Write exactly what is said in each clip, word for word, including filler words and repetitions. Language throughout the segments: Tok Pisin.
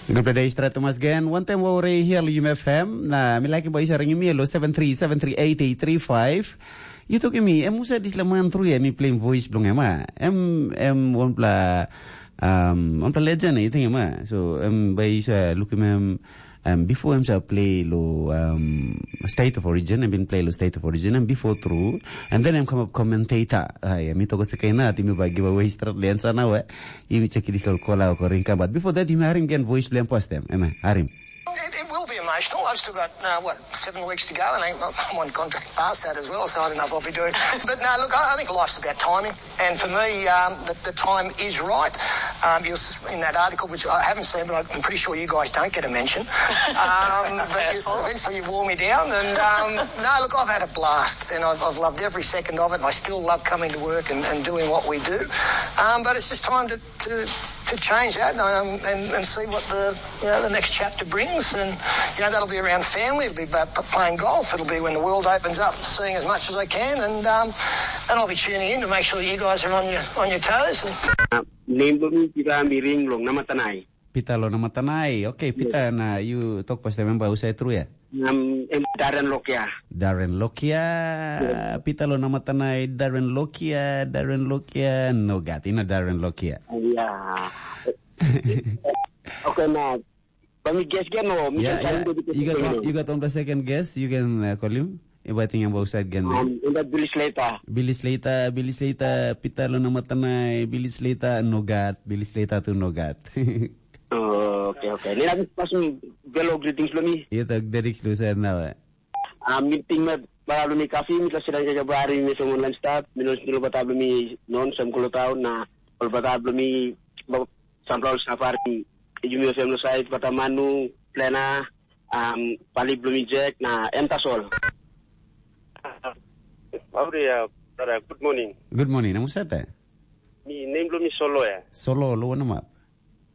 Gupela de stret mas gen, wantem wou re hia lo Yum F M, na mi like boy sa ringim mi lo seven three seven three eight eight three five. You took me, em usa dis la man through ya, mi playing voice blong em, ah. Em, em, one pla, um, one pla legend, I think, em, ah. So, em, by sa look him, em, um, before em sa play lo, um, State of Origin, em been play lo State of Origin, and before through, and then em come up commentator. Ah, yeah, mi toko se kaina, ti mi ba give away strat le answer now, eh. Yumi check this little call out or ring, but before that, yumi harim again voice blame post them. Ema, harim. It, it will be emotional. I've still got, uh, what, seven weeks to go, and I, I'm on contract past that as well, so I don't know if I'll be doing. But no, look, I, I think life's about timing. And for me, um, the, the time is right. Um, you're s- in that article, which I haven't seen, but I'm pretty sure you guys don't get a mention. Um, but you, eventually you wore me down, and um, no, look, I've had a blast, and I've, I've loved every second of it, and I still love coming to work and, and doing what we do. Um, but it's just time to, to, to change that, um, and, and see what the, you know, the next chapter brings. And, you know, that'll be around family, it'll be about p- playing golf, it'll be when the world opens up, seeing as much as I can, and um, and I'll be tuning in to make sure that you guys are on your on your toes. And Name bilong mi Pita Miring long Namatanai. Pita lo Namatanai. Okay, Pita, na you talk pas member usai through ya. Um, em Darren Lokia. Darren Lokia, Pita lo Namatanai, Darren Lokia, Darren Lokia, no gat, ina Darren Lokia. Yeah. Okay, na. But mi guess again, no, mi Yeah, can yeah. find it. You got one, you got on the second guess. You can uh, call him. If I think about side again. Um, in that Billy Slater. Billy Slater, Billy Slater, Pita lo Namatanai, Billy Slater, no gat, Billy Slater tu no gat. Oh, okay, okay. Ni lagi pas belo greetings lo mi. Iya tak dedik lu saya nawa. Ah, meeting me para lo mi kafi mi kasi lagi ke bari mi semua online start. Mi non sendiri bata lo mi non sem kulo tau na kalau bata lo mi ba- sampla ol safari yumi osem lo sait bata manu plena um, pali bilong mi Jack na em tasol. Mauri ya, brother, good morning. Good morning. Namu sata? Mi name lo mi Solo ya. Solo lo wana map?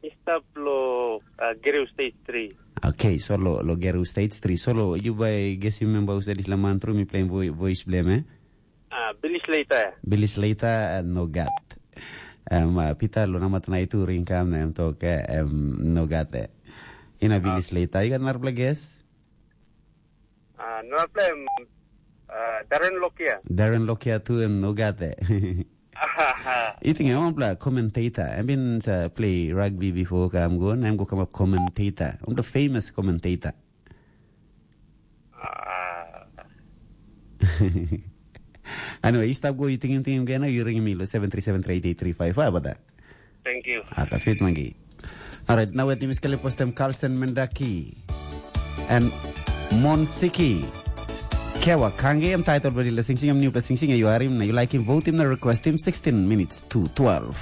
Mi stap lo uh, Gereu Stage three. Okay, Solo lo Gereu Stage three. Solo, you by guess you member who said this laman through me playing vo- voice blame, eh? Ah, Billy Slater. Billy Slater, eh, no gat. Em, ah, Peter lo namat na itu ringkam na em tok, eh, em, no gat, eh. Ina Billy Slater. You got another guess? Ah, no problem. Ah, Darren Lokia. Darren Lokia tu em no gat, eh. Iting em pla commentator. Em bin sa play rugby before kam go, na em go come up commentator. Em the famous commentator. Ah, Anyway, you stop go, you tingim tingim gana, you ring me lo seven three seven three eight eight three five. Apa da? Thank you. Aka fit mangi. Alright, now at Miss Kalipostem Carlsen Mendaki and Monsiki. Kewa Kangi, I'm titled Very Sing Sing, I'm new Sing Sing, you are him, you like him, vote him, na request him, sixteen minutes to twelve.